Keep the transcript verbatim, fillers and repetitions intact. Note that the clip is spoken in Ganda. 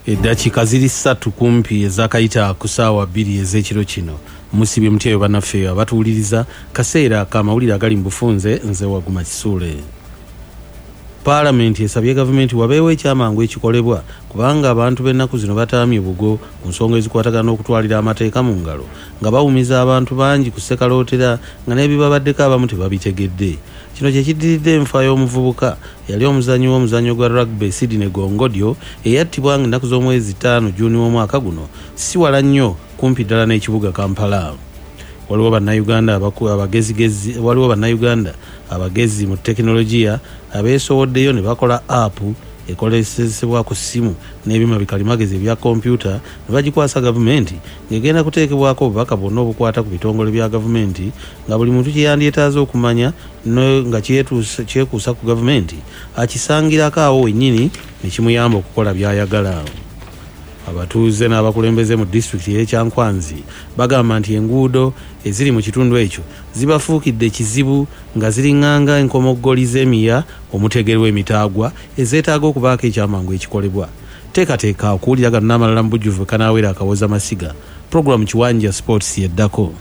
Eddakiika ziri ssatu kumpi ezakayita ku ssaawa bbiri ez'ekiro kino. Musibye mutya bannaffe abatuwuliriza? Kaseera k'amawulire agali mu bufunze. Nze Waguma Kisuule. Paalamenti esabye gavumenti wabeewo ekyamangu ekikolebwa, kubanga abantu b'ennaku zino bataamye bugo ku nsonga ezikwatagana n'okutwalira amateeka mu ngalo, nga bawumiza abantu bangi ku ssekalootera nga n'ebibabaddeko abamu tebabitegedde. Kino kye kiddiridde enfa y'omuvubuka eyali omuzannyi w'omuzannyo gwa rugby, Sydney Gongodyo, eyattibwa nga ennaku z'omwezi ttaano Juuni w'omwaka guno, si wala nnyo, kumpi ddala n'ekibuga Kampala. Waliwo Bannayuganda abagezigezi, waliwo Bannayuganda abagezi mu tekinologiya abeesowoddeyo ne bakola app ekolesebwa ku ssimu n'ebyuma bikalimagezi ebya kompyuta, ne bagikwasa gavumenti, ng'egenda kuteekebwako obubaka bwonna obukwata ku bitongole bya gavumenti, nga buli muntu kye yandyetaaze okumanya nga kyekuusa ku gavumenti akisangirako awo wennyini, ne kimuyamba okukola by'ayagala. Abatuuze n'abakulembeze mu disitulikiti y'e Kyankwanzi bagamba nti enguudo eziri mu kitundu ekyo zibafuukidde kizibu, nga ziriŋŋanga enkomoggoli z'emiya omutegerwa emitaagwa ezeetaaga okubaako ekyamangu ekikolebwa. Teekateeka okuwulira gano n'amalala mu bujjuvu kanaawera akawooza masiga. Puroguramu Kiwanja Sports yeddako.